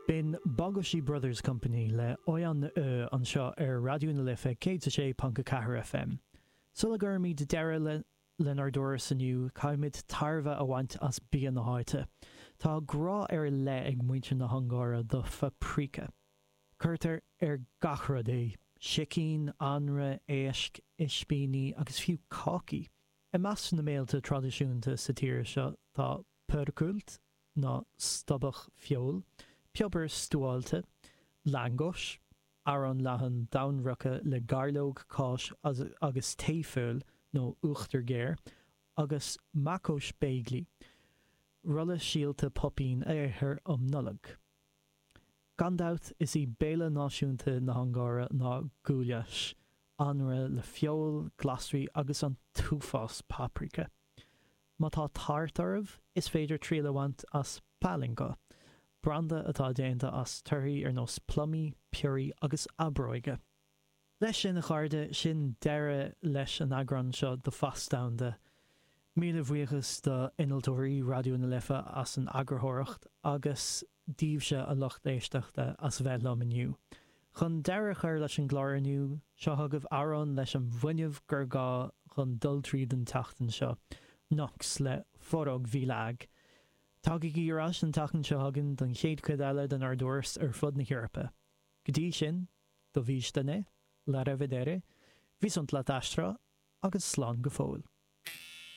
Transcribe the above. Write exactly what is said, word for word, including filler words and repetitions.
B'in Bagossy Brothers Company le Olyan Ö anseo ar Raidió na Life céad a sé ponc a ceathair FM. Sula gcuirimid deireadh le lenár dturas inniu, caithfimid tairbhe a bhaint as bia na háite. Tá grá ar leith ag muintir na hUngáire do phaprika. Cuirtear ar gach rud é, sicín, anraith, éisc, ispíní agus fiú cácaí. I measc na mbéilte traidisiúnta sa tír seo tá pörkölt, nó stobhach feoil, piobar stuáilte, lángos, arán leathan domhainbhroicthe le gairleog, cáis agus tae feoil nó uachtar géar, agus makós beigli, rolla síolta poipín a ithear um Nollaig. Gan dabht, is í béile náisiúnta na hUngáire ná goulash, anraith le feoil, glasraí agus an t-uafás paprika. Má tá tart oraibh, is féidir triail a bhaint as pálinka, branda atá déanta as torthaí ar nós plumaí, piorraí agus aibreoige. Leis sin, a chairde, sin deireadh leis an eagrán seo de Phas Domhanda. Míle buíochas do innealtóirí Raidió na Life as an eagarthóireacht agus daoibhse a lucht éisteachta as bheith liom inniu. Chun deireadh a chur leis an gclár inniu, seo chugaibh amhrán leis an bhfuinneamh gur gá chun dul tríd an tseachtain seo, Nox le Forog Világ. Tagaigí ar ais an tseachtain seo chugainn don chéad chuid eile denár dturas ar fud na hEorpa. Go dtí sin, dovijdane, la revedere, viszontlátásra agus slán go fóill.